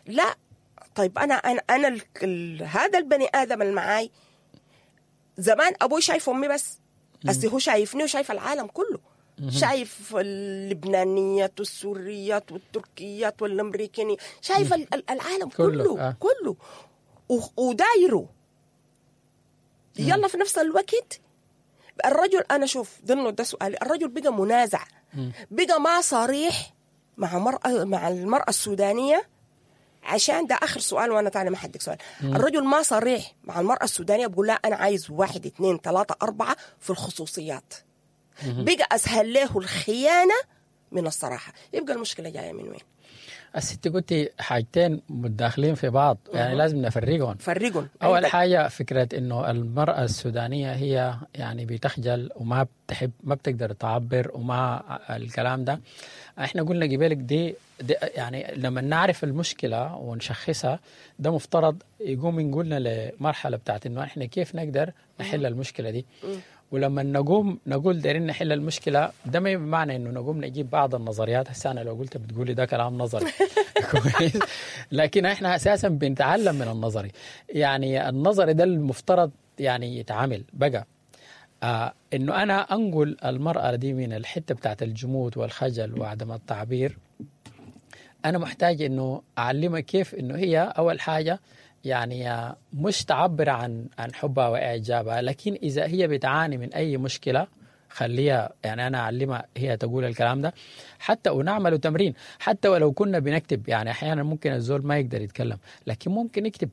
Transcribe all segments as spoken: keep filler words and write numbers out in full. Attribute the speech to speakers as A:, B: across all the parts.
A: لا طيب انا انا انا ال ال هذا البني ادم اللي معاي زمان ابوي شايف امي بس، هسي هو شايفني وشايف العالم كله، شايف اللبنانيات والسوريات والتركيات والامريكاني، شايف ال- ال- العالم
B: كله،
A: كله
B: آه.
A: كله و- ودايره. يلا في نفس الوقت الرجل، انا شوف ضمن ده سؤالي، الرجل بقى منازع، بقى ما صريح مع مرأة مع المرأة السودانية. عشان ده اخر سؤال وانا تاني ما حدك سؤال. الرجل ما صريح مع المرأة السودانية، بقول لها انا عايز واحد اثنين ثلاثة أربعة في الخصوصيات. بقى اسهل له الخيانة من الصراحة. يبقى المشكلة جاية من وين؟
B: الست قلتي حاجتين متداخلين في بعض، يعني لازم نفرقهم.
A: فرقهم.
B: أول
A: عندك.
B: حاجة فكرة إنه المرأة السودانية هي يعني بتخجل وما بتحب، ما بتقدر تعبر وما الكلام ده، احنا قلنا قبلك دي, دي يعني لما نعرف المشكلة ونشخصها ده مفترض يقوم ينقلنا لمرحلة بتاعت إنه احنا كيف نقدر نحل المشكلة دي. ولما نقوم نقول دايرين نحل المشكلة، ده ما بمعنى انه نقوم نجيب بعض النظريات. هسه انا لو قلت بتقولي ده كلام نظري، كويس، لكن احنا اساسا بنتعلم من النظري. يعني النظري ده المفترض يعني يتعامل بقى آه انه انا انقل المراة دي من الحتة بتاعت الجمود والخجل وعدم التعبير. انا محتاج انه اعلمها كيف انه هي اول حاجة يعني مش تعبر عن عن حبها واعجابها، لكن اذا هي بتعاني من اي مشكلة خليها، يعني انا اعلمها هي تقول الكلام ده، حتى ونعمل تمرين، حتى ولو كنا بنكتب. يعني احيانا ممكن الزول ما يقدر يتكلم لكن ممكن يكتب،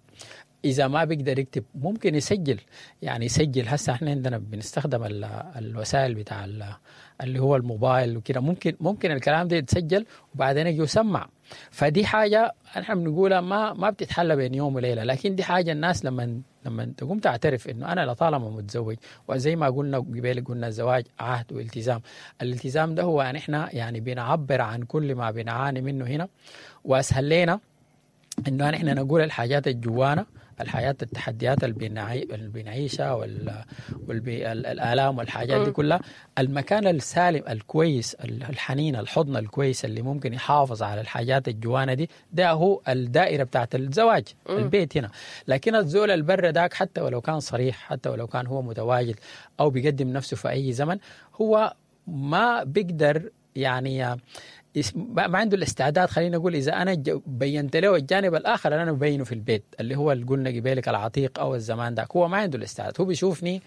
B: اذا ما بيقدر يكتب ممكن يسجل، يعني يسجل. هسه احنا عندنا بنستخدم الوسائل بتاع اللي هو الموبايل وكده، ممكن ممكن الكلام ده يتسجل وبعدين يجي يسمع. فدي حاجة احنا بنقولها ما ما بتتحل بين يوم وليلة، لكن دي حاجة الناس لما لما تقوم تعترف انه انا لطالما متزوج، وزي ما قلنا قبل قلنا الزواج عهد والتزام، الالتزام ده هو ان احنا يعني بنعبر عن كل ما بنعاني منه هنا، واسهل لنا انه احنا نقول الحاجات الجوانا، الحياة، التحديات اللي بنعيشها والآلام والحاجات دي كلها. المكان السالم الكويس الحنين الحضن الكويس اللي ممكن يحافظ على الحاجات الجوانة دي، ده هو الدائرة بتاعت الزواج، البيت هنا. لكن الزول البر داك حتى ولو كان صريح، حتى ولو كان هو متواجد أو بيقدم نفسه في أي زمن، هو ما بيقدر يعني ما عنده الاستعداد. خلينا نقول اذا انا بينت له الجانب الاخر اللي انا ببينة في البيت اللي هو اللي قلنا قبالك العتيق او الزمان داك، هو ما عنده الاستعداد. هو بيشوفني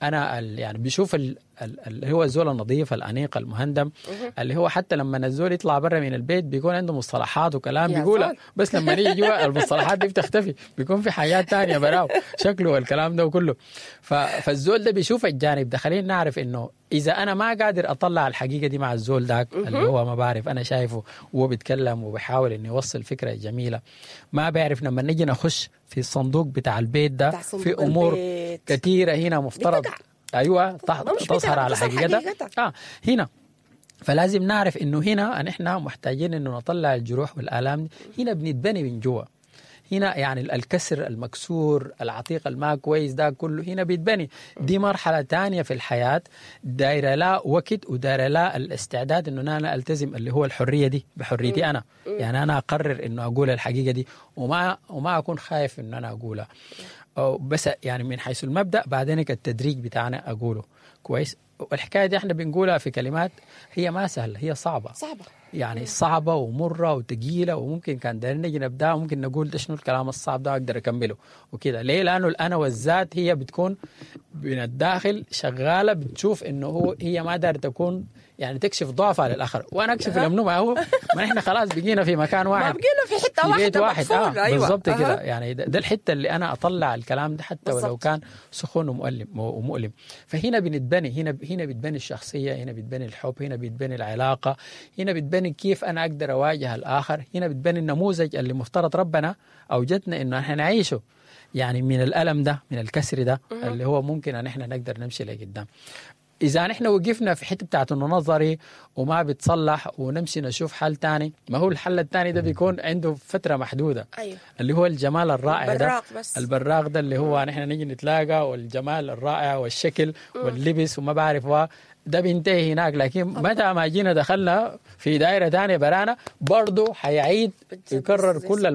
B: انا يعني بيشوف اللي هو الزول النظيف الانيق المهندم، اللي هو حتى لما الزول يطلع برا من البيت بيكون عنده مصطلحات وكلام بيقولها، بس لما نيجي جوا المصطلحات دي بتختفي، بيكون في حاجات تانية براو شكله والكلام ده كله. فالزول ده بيشوف الجانب ده. خلينا نعرف انه اذا انا ما قادر اطلع الحقيقة دي مع الزول داك اللي هو ما بعرف انا شايفه وهو بيتكلم وبيحاول انه يوصل فكرة جميلة، ما بعرف لما نجي نخش في الصندوق بتاع البيت ده في امور كثيرة هنا مفترض بتقع. ايوه تظهر على حقيقتها اه هنا. فلازم نعرف انه هنا نحن محتاجين انه نطلع الجروح والالام دي. هنا بنتبني من جوا، هنا يعني الكسر المكسور العتيق الما كويس ده كله هنا بيتبني. دي مرحلة تانية في الحياة، دايرة لا وقت ودايرة لا الاستعداد انه انا التزم اللي هو الحرية دي بحريتي انا، يعني انا اقرر انه اقول الحقيقة دي وما وما اكون خايف انه انا اقولها، بس يعني من حيث المبدأ بعدين التدريج بتاعنا اقوله كويس. والحكاية دي احنا بنقولها في كلمات هي ما سهلة، هي صعبة
A: صعبة
B: يعني صعبة ومرة وثقيله، وممكن كان دايرين نجي نبدا ممكن نقول ده شنو الكلام الصعب ده اقدر اكمله وكده. ليه؟ لانه الانا والذات هي بتكون من الداخل شغالة، بتشوف انه هو هي ما دايرة تكون يعني تكشف ضعفها للاخر، وانا اكشف لمنو؟ ما هو ما احنا خلاص بقينا في مكان واحد،
A: ما بقينا في حتة واحدة،
B: بيت واحد. آه. أيوة. بالضبط كده. يعني ده, ده الحتة اللي انا اطلع الكلام ده حتى بالزبط. ولو كان سخون ومؤلم ومؤلم. فهنا بنتبني، هنا هنا بتبني الشخصية، هنا بتبني الحب، هنا بتبني العلاقة، هنا بتبني كيف انا اقدر اواجه الاخر، هنا بتبني النموذج اللي مفترض ربنا اوجدنا انه احنا نعيشه، يعني من الالم ده، من الكسر ده اللي هو ممكن ان احنا نقدر نمشي لقدام. إذا نحن وقفنا في حتة بتاعت إنه نظري وما بتصلح ونمشي نشوف حل تاني، ما هو الحل التاني ده بيكون عنده فترة محدودة.
A: أيوه.
B: اللي هو الجمال الرائع ده،
A: البراق بس.
B: البراق ده اللي هو نحن نيجي نتلاقى، والجمال الرائع والشكل واللبس وما بعرف ده بينتهي هناك. لكن متى ما جينا دخلنا في دائرة تانية برانا برضه حيعيد يكرر كل